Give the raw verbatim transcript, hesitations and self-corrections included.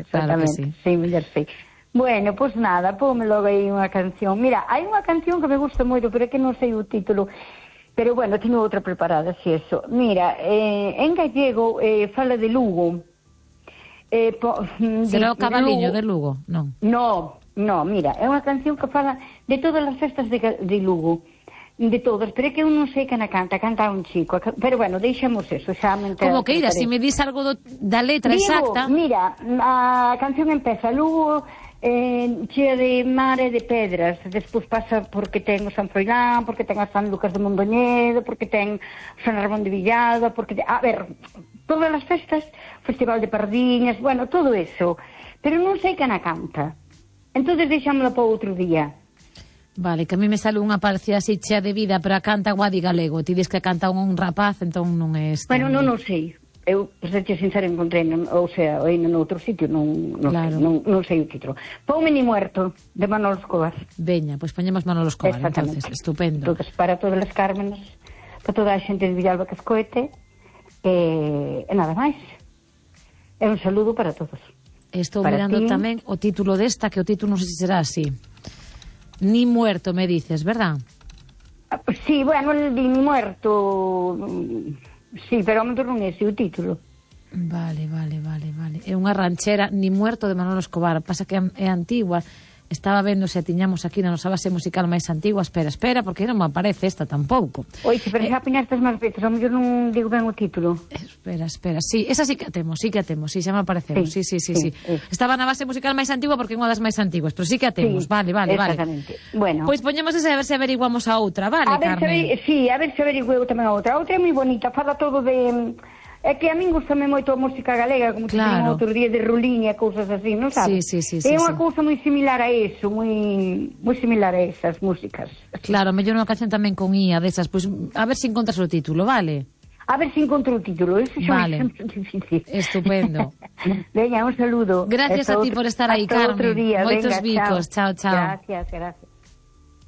Exactamente, claro que sí. Sí, mellor sei. Bueno, pois pues nada, póme logo aí unha canción. Mira, hai unha canción que me gusta moito, pero é que non sei o título. Pero bueno, teño outra preparada, si eso. Mira, eh, en gallego eh, fala de Lugo. Eh, po, Será de, o Cabaliño Lugo. de Lugo? Non. No, no, mira, é unha canción que fala de todas as festas de, de Lugo. De todas, pero é que eu non sei quen a canta, canta un chico. Pero bueno, deixamos eso, xa me entero. Como que ira, se si me dis algo do, da letra Digo, exacta... Mira, a canción empeza Lugo... Eh, chea de mar e de pedras, despois pasa porque ten o San Froilán, porque ten a San Lucas de Mondoñedo, porque ten o San Ramón de Villada, porque ten, a ver, todas as festas, Festival de Pardiñas, bueno, todo eso, pero non sei quen a canta, entonces deixámosla para outro día. Vale, que a mí me sale unha parecida así chea de vida, pero a canta Guadi Galego, ti dis que canta un rapaz, entón non é este. Bueno, non, non sei. Eu, por ser sincero, encontrei, ou sea, aí noutro sitio, non, non, claro. sei, non, non sei o título. Ponme Ni Muerto, de Manolo Escobar. Veña, pois pues poñemos Manolo Escobar, entonces, estupendo. Entonces, para todas as Cármenes, para toda a xente de Villalba que escoete, e, e nada máis. É un saludo para todos. Estou para mirando ti. Tamén o título desta, que o título non sei se será así. Ni Muerto, me dices, verdad? Sí, bueno, el de Ni Muerto... Sí, pero ao mellor non é ese o título. Vale, vale, vale, vale. É unha ranchera, Ni Muerto, de Manolo Escobar. Pasa que é antigua. Estaba vendo se tiñamos aquí na nosa base musical máis antigua. Espera, espera, porque non me aparece esta tampouco. Oixe, pero xa eh, apiñastes máis veces, ao mellor non digo ben o título. Espera, espera, sí, esa sí que a temos, sí que a temos, sí, xa me apareceu, sí, sí, sí, sí, sí. sí. Estaba na base musical máis antigua porque é unha das máis antiguas, pero sí que a temos, sí, vale, vale, vale. Exactamente. Bueno. Pois poñemos esa a ver se averiguamos a outra, vale, a ver Carmen? Se, sí, a ver se averiguo tamén a outra. A outra é moi bonita, fala todo de... É que a min gustame moito a música galega, como claro. Te outro día de Ruliña e cousas así, non sabes? Sí, sí, sí, é sí, unha sí. cousa moi similar a eso, moi moi similar a esas músicas. Claro, mellor unha canción tamén con I A desas, pois a ver se encontras o título, vale? A ver se encontro o título, eso xa vale. É difícil. Estupendo. Veña, un saludo. Gracias hasta a ti outro, por estar aí, Carmen. Outro día. Moitos Venga, bicos, chao, chao. Gracias, gracias.